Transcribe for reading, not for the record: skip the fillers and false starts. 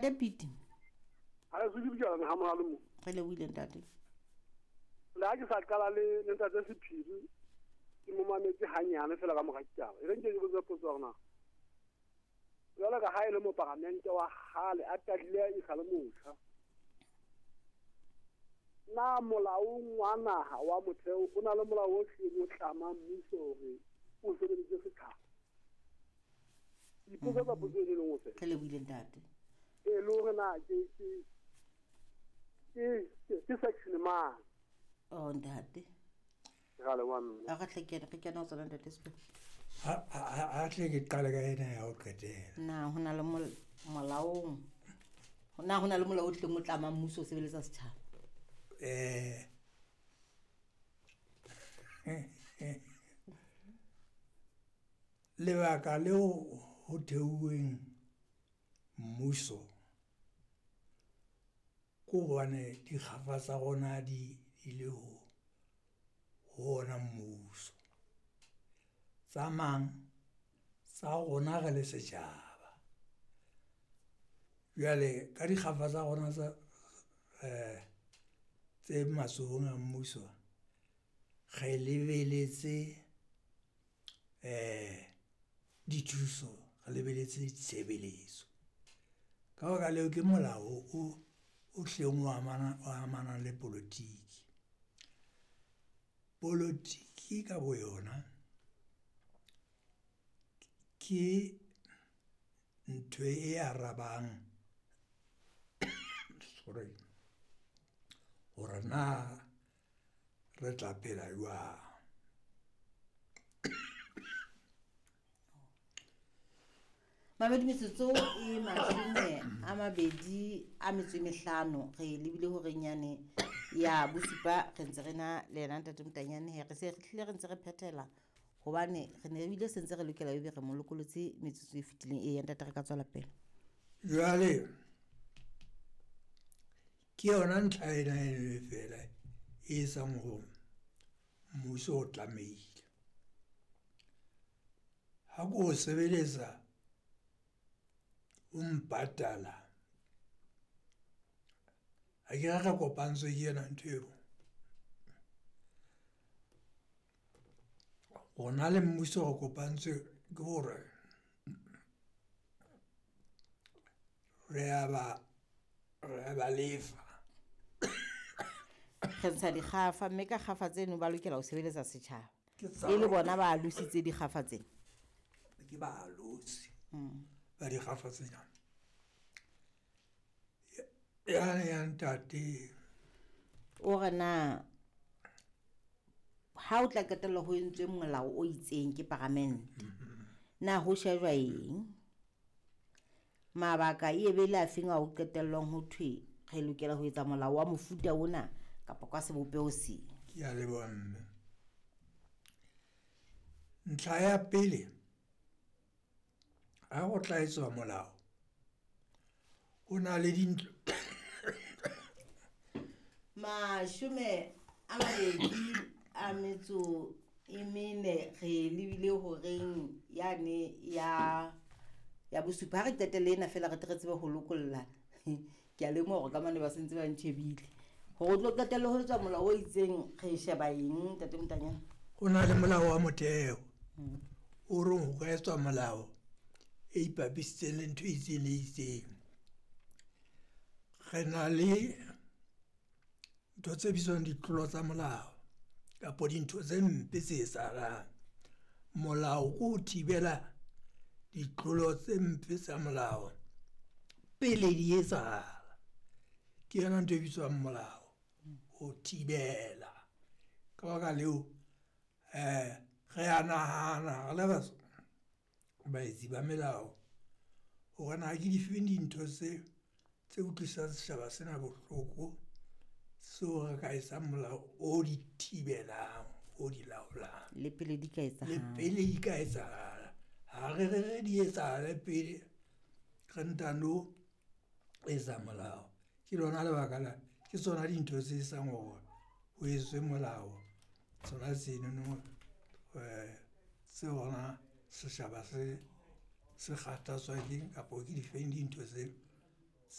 Pete. Ha e se ke ha mohale mo. Re lebohile ntate. Le ha ke sa qala le ntate Sephiri ke mo mametse hanyane fela ka mora ditaba. E re nke ke botse potso hore na jwalo ka ha e le moparamente wa kgale a qadile e sa le motjha. Na molaong wa naha wa motheo o na le molao o hlileng o tlamang mmuso hore o sebedise setjhaba. Ipotsa ka potso e le nngwe fela. Re lebohile ntate. E le hore na ke section mang? Oh ntate. Re leboha mme. A re tle ke re kena ho tsona ntate Sephiri. Ha tle ke qale ka ena ya ho qetela. Na ho na le molaong. Na ho na le molao o tleng o tlamang mmuso o sebeletsa setjhaba? Lebaka leo ho theuweng mmuso ke hobane dikgafa tsa rona di ile ho ona mmuso. Tsa mang tsa rona re le setjhaba. Jwale ka dikgafa tsa rona tsa tse matsohong a mmuso re lebeletse dithuso, re lebeletse ditshebeletso. Ka baka leo ke molao o hleng o amanang le politiki. Politiki ka boyona ke ntho e arabang sorry hore na re tla phela jwang. Mamedi metsotso e 25 re lebile horeng yane ya bosupa re ntse re na le yena ntate Motanyane he re se re hlile re ntse re phethela hobane re ne ebile se ntse re lokela ebe re mo lokolotse metsotso e fetileng. E ntate re ka tswela pele. Jwale ke yona ntlha ena e fela e etsang hore mmuso o tlamehile. Ha ko sebeletsa o mpatala ha ke re kopantswe ke yona ntho eo. Rona le mmuso re kopantswe ke hore re a ba lefa. Re ntsha dikgafa mme ka kgafa tseno ba lokela ho sebeletsa setjhaba. E le bona ba alositse dikgafa tsena. Ke ba alosi ba dikgafa tsena. Yane ya ntate o re na ha o tla qetella ho entswe molao o itseng ke paramente, na ho shejwa eng? Mabaka e be le a feng a ho qetellwang ho thwe re lokela ho etsa molao wa mofuta ona kapa ka sebopeho seng? Ke a leboha mme. Ntlha ya pele, ha go tla etswa molao ho na le dintlo 24 re lebile horeng yane ya bosupa. Ha re qetelle ena fela re tle re tsebe ho lokolla. Ke a lemoha hore ka mane ba sentse ba ntjhebile hore o tlo qetelle ho etswa molao o itseng. Re sheba eng ntate Motanyane? Ho na le molao wa motheo o reng ho ka etswa molao e ipapisitseng le ntho e itseng le itseng. Re na le ntho tse bitswang ditlolo tsa molao kapa dintho tse mpe tse etsahalang. Molao ke ho thibela ditlolo tse mpe tsa molao pele di etsahala. Ke yona ntho e bitswang molao, ho thibela. Ka baka leo re a nahana re le baetsi ba melao hore na ke difeng dintho tse utlwisang setjhaba sena bohloko seo re ka etsang molao o di thibelang, o di laolang. Le pele di ka etsahala. Le pele di ka etsahala. Ha re re di etsahale pele re ntano etsa molao. Ke lona lebaka la ke tsona dintho tse etsang hore ho etswe molao. Tsona tsenono tse hona setjhaba se kgathatswa keng kapa ke difeng dintho tse